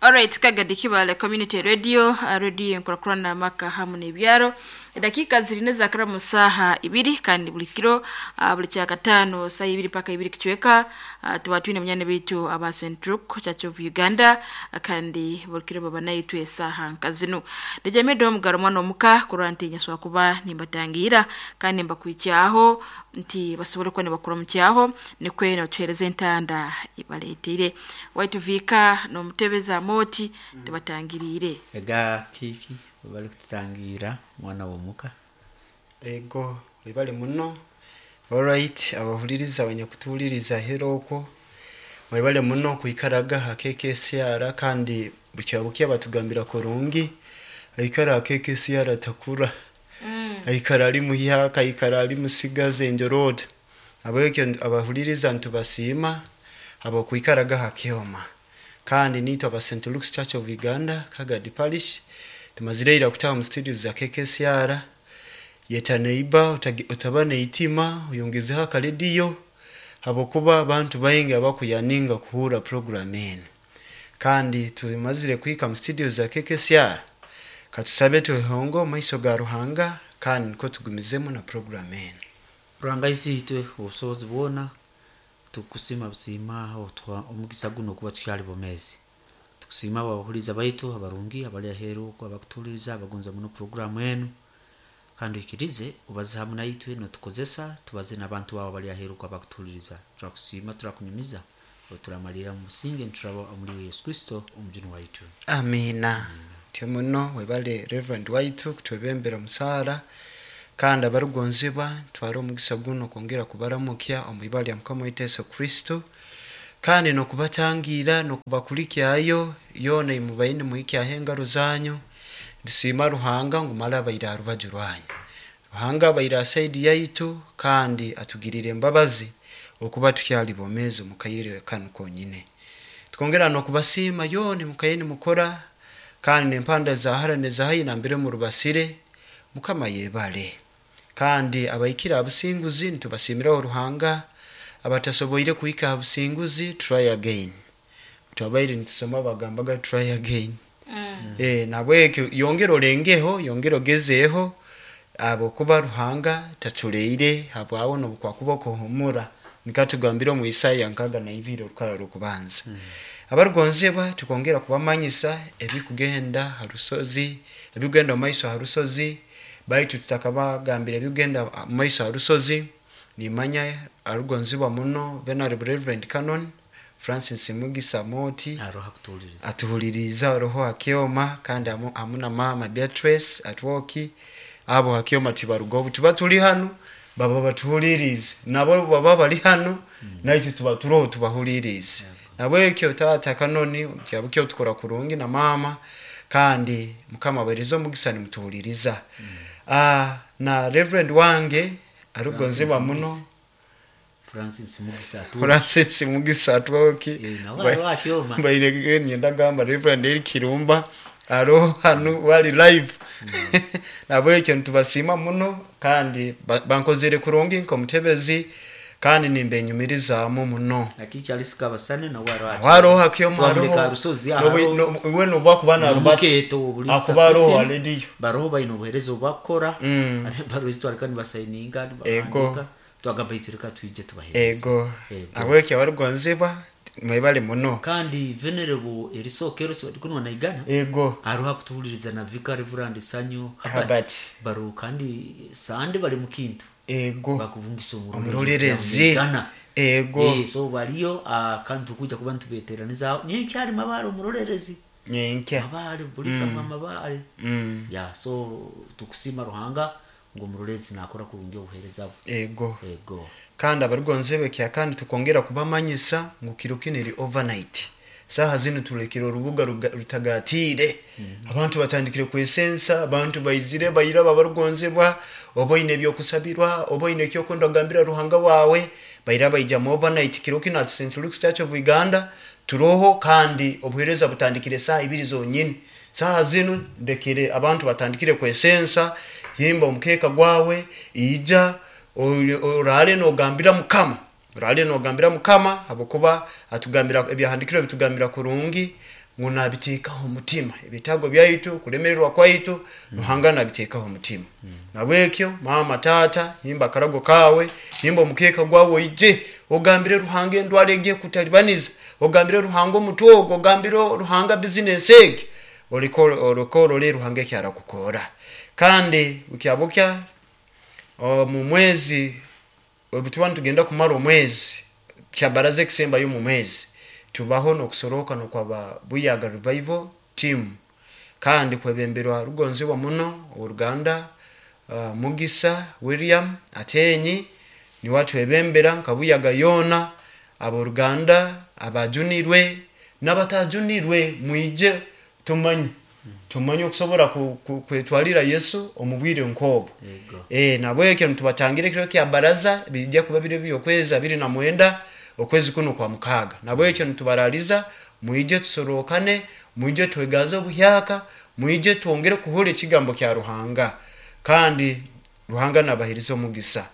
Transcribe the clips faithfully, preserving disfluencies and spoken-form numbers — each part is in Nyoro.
Alright, Kagadi Kibale Community Radio, uh, radio enkurakurana amaka hamu n'ebyaro. Edakika zirine zakara mu saha ibiri kandi buli kiro uh, buli kyakataano saa ibiri paka ibiri kicweka uh, tuba twine munyane bitu aba Saint Luke Church of Uganda uh, kandi buli kiro baba naitwe esaha nka zinu. Ndejamedde omugaro mwana omuka kurora nti nyaswa kuba nimbatangira kandi mbakwikyaho nti basobole kuba nibakura mu kyaho nikwe nibatuhereza entanda ibaleeteire waituvika n'omutebeza moti tibatangiriire. Ega kiki bali kututangira mwana w'omuka. Ego webale muno. Alright, abahuliriza abanyakutuhuliriza hera okwo mwebale muno kwikaraga ha K K C R, kandi bukya bukya batugambira kurungi aikara ha K K C R takura mm. aikara ali muhyaka, aikara ali musigaze enjorodo. Abekyo abahuliriza ntubasiima abokwikaraga ha kyoma, kandi nitwe aba Saint Luke's Church of Uganda Kagadi Parish tumazire ira kutaha mu studio za K K C R. Yeta neiba utaba neitima uyongezeho akarediyo habwokuba abantu baingi abakuyaninga kuhura program eno. Kandi tumazire kuhika mu studio za K K C R, katusabe twehongo mu maiso ga Ruhanga kandi niko tugumizemu na program eno. Ruhanga isiitwe obusobozi bwona, tukusima busiima otuha omugisa guno okuba tukyali bomezi. Tukusiima abahuliza baitu abarungi abali aheeru okwo abakutuhuliriza abagonza muno puroguramu enu, kandi oikirize obaze hamu naitwe notukozesa tubaze n'abantu baabo abali aheeru okwo abakutuhuliriza. Turakusiima, turakunyumiza, oturamalira mu businge nituraba omuli Yesu Kristo omujuni waitu. Amiina. Tyo muno webale Reverend waitu kutwebembera omusaara. Kandi abarugonzibwa, twara omugisa guno kwongera kubaramukya omu ibara lya Mukama waitu Yesu Kristo, kandi nokubatangira nokubakulikyayo yoona imubaine muhikyaho engaro zanyu. Nitusiima Ruhanga ngu mara abaire aha rubaju rwanyu. Ruhanga abaire aha side yaitu kandi atugirire embabazi okuba tukyali bomezi omu kaire kanu konyine. Twongera nokubasiima yoona mukaye nimukora kandi nempanda za hara neza haihi nambere murubasire. Mukama yebale. Kandi abaikire aha businguzi nitubasiimiraho Ruhanga, abatasoboire kuhika aha businguzi, try again. Twabaire nitusoma bagambaga try again mm. E, nabwekyo yongera olengeho, yongera ogezeeho habwokuba Ruhanga taculeire habwawe nobukwakuba okuhumura nikatugambira omu Isaya nkaga na ibiri orukara rw'okubanza mm. Abarugonzebwa, tukongera kubamanyisa ebikugenda ha rusozi, ebikugenda omu maiso ha rusozi. Baitu tutakabagambira ebikugenda mu maiso ha rusozi, nimanya arugonzibwa muno Venerable Reverend Canon Francis Mugisa Moti aroha kutuhuliriza. Atuhuliriza roho akyoma kandi hamu hamu na mama Beatrice atwoki abo hakyoma tibaruga. Obu tuba tuli hanu baba batuhulirize, nabo baba bali hanu mm. naitwe tuba turoho tubahulirize. Nabwekyo taata Kanoni kyabukyo tukora kurungi na mama, kandi Mukama abahereze omugisa nimutuhuliriza mm. Ah, na Reverend wange arugonzibwa muno. Francis Mugisa atu Francis Mugisa atwoki. Eh, nawe aroho akyoma. Baire nyenda gamba Reverend Eric Kirumba aroho hanu wali live. Nabwekyo nitubasiima muno kandi ba- bankozere kurungi nk'omutebezi kandi nimbenyumirizaamu muno. Akiki alisika basane nawe aroho. Waroho akyoma. Twamuleka aroho rusozi. Nobu- no- iwe nobu akuba narubata nomukeeto obulisa akuba aroho Listen, alediyo. Baroho baine obuhereza obwakukora. Mm. Barozi twareka nibasayininga, Ego. nibahandika, twagamba itwe reka twije tubahereze. Ego. Ego. Nabwekyo abarugonzibwa mwebale muno. Kandi Venerable Erisokero sibadikunwa naigana ego aroha kutuhuliriza na Vicar Reverend Sanyu Herbert. Baro kandi sande bali mukintu ego bakubungisa omurorerezi. Omurorerezi. Ego. Eh, so baliyo ah, kandi tukuja kuba nitubeteraniza nyenkyali mabale omurorerezi. Nyenkya. Mabale bulisa mm. mabale. Mm. Ya, so tukusima Ruhanga ngo omurorerezi nakora kurungi obuhereza bwe. Ego. Ego. Kandi abarugonzebe kya kandi tukongera kubamanyisa ngu kiro kino eri overnight. Saha zino tulekere orubuga ruga- rutagatiire abantu batandikire kwesensa, abantu baizire bairaba. Abarugonzebwa, oba oine ebyokusabirwa, oba oine ekyokwenda kugambira Ruhanga wawe, baira baija mu overnight kiro kino at Saint Luke's Church of Uganda turoho, kandi obuhereza butandikire saha ibiri zonyini. Saha zino ndekere abantu batandikire kwesensa. Himba omukeeka gwawe, ija orale nogambira Mukama, orale nogambira Mukama, habwokuba atugambira ebyahandikirwe bitugambira kurungi. ngu nabiteekaho omutima ebitaago byaitu kulemererwa kwaitu mm. Ruhanga nabiteekaho omutima mm. Nabwekyo mama tata himba akarago kawe, himba omukeeka gwawe oije ogambire Ruhanga endwara egiye kutalibaniza, ogambire Ruhanga omutwe ogwo, ogambire Ruhanga bizinesi egi, orikoro Ruhanga eki arakukora. Kandi bukya bukya omu mwezi obu tuba nitugenda kumara omwezi kyabaraza ekisembayo mu mwezi tubaho n'okusoroka n'okwaba Buyaga Revival Team, kandi kwebemberwa rugonzibwa muno oruganda uh, Mugisa William Atenyi niwe atwebembera nka Buyaga yoona. Aboruganda abajunirwe n'abatajunirwe mwije tumanye tumanye okusobora kwetwalira Yesu omu bwire nk'obwo. Eh nabwekyo nitubatangira ekiro kya baraza bijja kuba biri by'okwezi abiri na mwenda okwezi kuno kwa mukaaga. Nabwekyo nitubaraliza mwije tusorokane, mwije twegaze obuhyaka, mwije twongere kuhura ekigambo kya Ruhanga, kandi Ruhanga nabahiriza omugisa.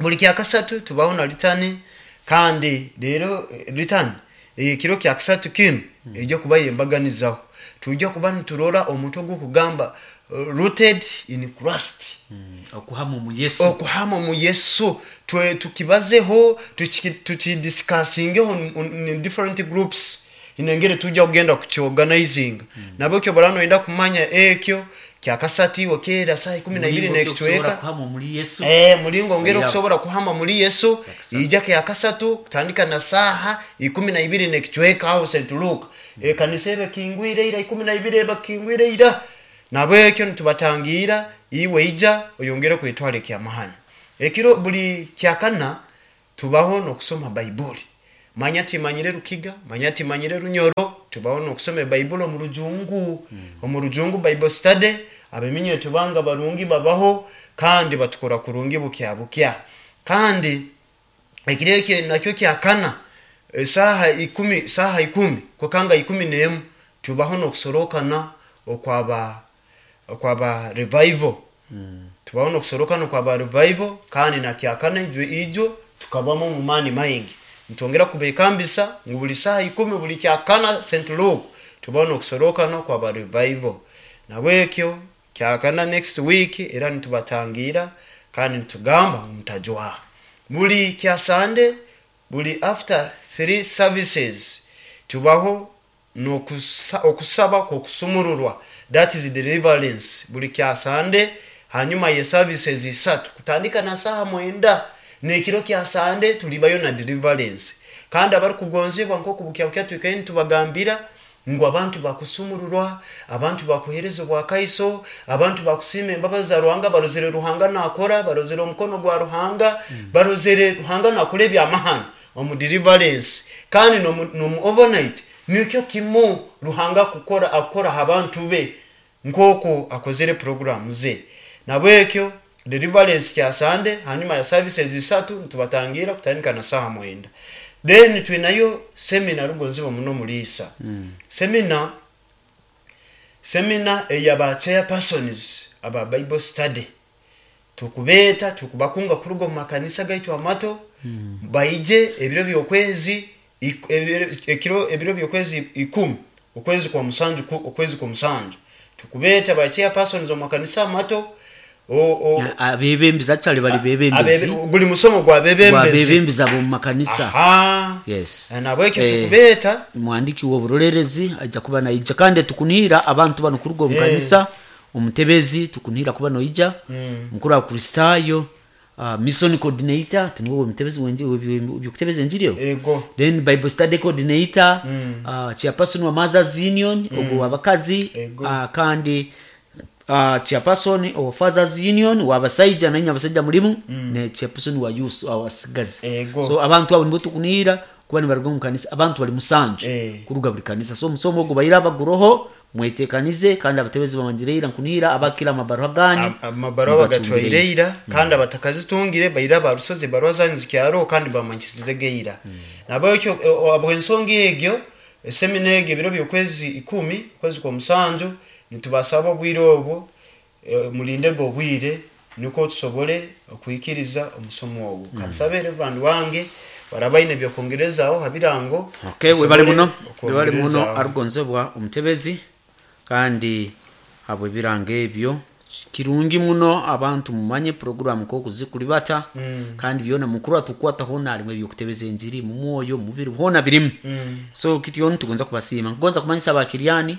Buli kya kasatu tubaho na litani, kandi rero litani ekiro kya kasatu kinu ejja kuba yembaganizaho. Tujja kuba niturora omuntu ogukugamba uh, rooted in Christ, mm, okuhama mu Yesu, okuhama mu Yesu. Twe tukibazeho, tukidiscussingeho in different groups, inengere tujja kugenda kukiorganizing. mm. Nabwekyo barano enda kumanya ekyo kyakasati wakera saa ikumi na ibiri n'ekicweka eh mulingo ngero kusobora kuhama muri Yesu ija kyakasatu kutandika na saha ikumi na ibiri n'ekicweka aho Saint Luke. mm. E kanisa ebe kingwire ira ikumi na ibiri eba kingwire ira. Nabwekyo nitubatangira iwe ija oyongere kwetwala ekyamahano. Ekiro buli kyakana tubaho n'okusoma Baibuli. Manya timanyire Rukiga, manya timanyire Runyoro, tubaho n'okusoma Baibuli omu Rujungu. mm. Omu Rujungu Bible study abeminye tubanga barungi babaho kandi batukora kurungi bukya bukya. Kandi ekiro ekyo nakyo kyakana saha ikumi, saha ikumi kukanga ikumi n'emu tubaho n'okusorokana okwaba okwaba revival. mm. Tubaho n'okusorokana okwaba revival, kandi na kyakana ijo ijo tukabamo mu mani maingi. Ntongera kubekambisa ngu buli saha ikumi buli kyakana Saint Luke tubaho n'okusorokana okwaba revival. Nabwekyo kyakana next week era nitubatangira kandi nitugamba mutajwa. Buli kya Sunday buli after three services tubaho n'okusaba kw'okusumururwa, that is deliverance. Buli kya Sunday hanyuma ye services isatu kutandika na saha mwenda n'ekiro kya Sunday tulibayo na deliverance. Kandi abarikugonzebwa nk'oku bukya bukya twikaye nitubagambira ngu abantu bakusumururwa, abantu bakuhereza obwakaiso, abantu bakusiima embabazi za Ruhanga, barozere Ruhanga nakora, barozere omukono gwa Ruhanga, mm. barozere Ruhanga nakora ebyamahano omu deliverance. Kandi nomu overnight nikyo kimu Ruhanga kukora akora abantu be nk'oku akozere program ze. Nabwekyo deliverance kya Sunday hanyuma ya services isatu nitubatangira kutandika na saha mwenda. Then twinayo seminar rugonzibwa muno mulisa. mm. Seminar seminar eyaba chairpersons aba Bible study tukubeta tukubakunga kuruga mu makanisa gaitu amato. mm. Baije ebiro by'okwezi ekiro ebiro by'okwezi ikumi okwezi kwa musanju okwezi kwa musanju tukubeta ba chairpersons mu makanisa amato. Abebembezi actually bali bebembezi guli musomo gwa bebembezi bebembezi abo mu makanisa. Aha, yes. Nabwekyo eh, tukubeta mwandiki w'oburolerezi ajja kuba naija, kandi tukunira abantu bano kuruga mu kanisa. Omutebezi tukunira kuba noija, mm. mukuru wa Kristayo, uh, mission coordinator tinwo omutebezi wenje byokutebeza enjiri ego, then Bible study coordinator, mm. uh, chairperson wa Mothers Union, mm. ogwo wabakazi, uh, kandi Uh, chairperson wa Fathers Union wabasaija nanya abasaija mulimu, mm. ne chairperson wa youth awasigazi. So abantu abo nibo tukunira kuba nibaruga mu kanisa, abantu bali musanju e. kuruga buli kanisa. So musomo ogwo bayira abaguroho mwetekanize, kandi abatebezi bamanjireira nkunira abakira amabaruha ganyu amabaruha bagatwaireira, mm. kandi abatakazitungire bayira barusoze baruha zanyu zikyaro kandi bamanchisize geira. mm. Nabwekyo abo ensonga egyo seminar egyo ebiro by'okwezi ikumi kwezi kwa musanju nitubasaba obwire obwo e, mulindege obwire niko tusobole okwikiriza omusomo ogwo. mm. Kansabe Reverend wange Barabaine byokongerezaho ha birango. Okay, webale muno, webale muno. Okwongerezaho. Arugonzebwa omutebezi, kandi habwe ebirango ebyo kirungi muno. Abantu mumanye programu kokuzikulibata mm. Kandi byona mukuru atukwata hona alimu ebyokutebeza enjiri mu mwoyo mubiri hona birimu mm. So kityo nitugonza kubasiima, nkugonza kumanyisa abakiryani,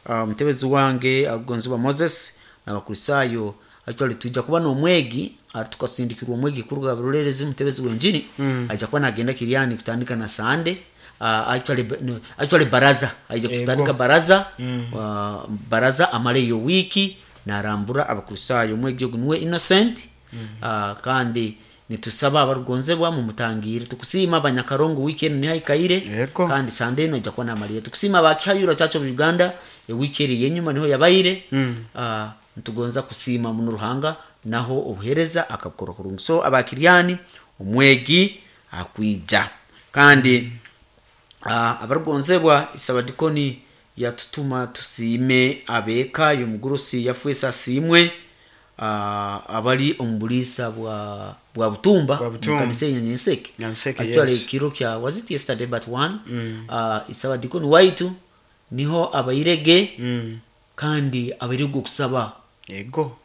uh, omutebezi wange arugonzebwa Moses n'abakristayo, actually tujja kuba n'omwegi, tukasindikirwa omwegi kuruga Burulerezi, mutebezi w'enjiri mm. Aija kuba nagenda Kiryani kutandika na Sande, uh, actually, no, actually baraza aija kutandika baraza mm. uh, baraza amale iyo wiki narambura abakristayo. Omwegi ogu niwe Innocent mm. uh, kandi nitusaba abarugonzebwa mumutangire. Tukusiima abanyakarongo, wiki enu niho aikaire. Yego. Kandi Sande eno aija kuba namalire. Tukusiima abakihayura Church of Uganda, ewiki eri yenyuma niho yabaire mm. uh, nitugonza kusiima muno Ruhanga naho obuhereza akabukora kurungi. So abakiryani omwegi akwija. Kandi uh, abarugonzebwa, isabadikoni yatutuma tusiime abeeka y'omugurusi yafwesa asiimwe, uh, abali omu buliisa bwa bwa Butumba. Bwa Butumba. Mukanisa ya Nyanseke. Nyanseke, Actually, yes. kiro kya, was it yesterday but one mm. uh, isabadikoni waitu niho abairege Mm. kandi abairege okusaba Yego.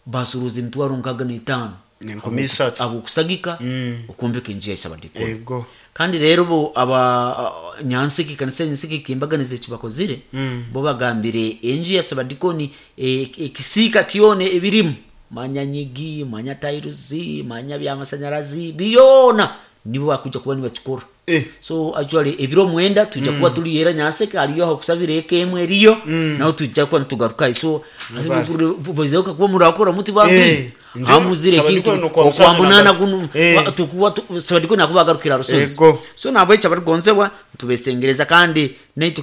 basuruza emitwaro nkaga n'etaano N'enkumi isatu. abokusagika Mm. okwombeka enju ya isabadikoni. Yego. Kandi rero bo aba uh, Nyanseke, kanisa ya Nyanseke kimbaganiza ekibakozire Mm. bo bagambire enju ya sabadikoni ekisiika kyona ebirimu, manya nyigi, manya tairuzi, manya byamasanyarazi, byona nibo bakuja kuba nibakikora. Eh. So actually ebiro mwenda tujja kuba tuli era Nyanseke, aliyo aho kusabira eka emwe eriyo naho tujja kuba nitugarukayo. So bozeoka kuba murakora muti Eh, bantu nje hamuzire Sabadikoni kintu nokwa musanju okwambunana naga- guno Eh. wa- tukuwa tu- sabadikoni akuba agarukira rusozi. Ego. So nabwo ekyo abarugonzebwa tubesengereza kandi naitu.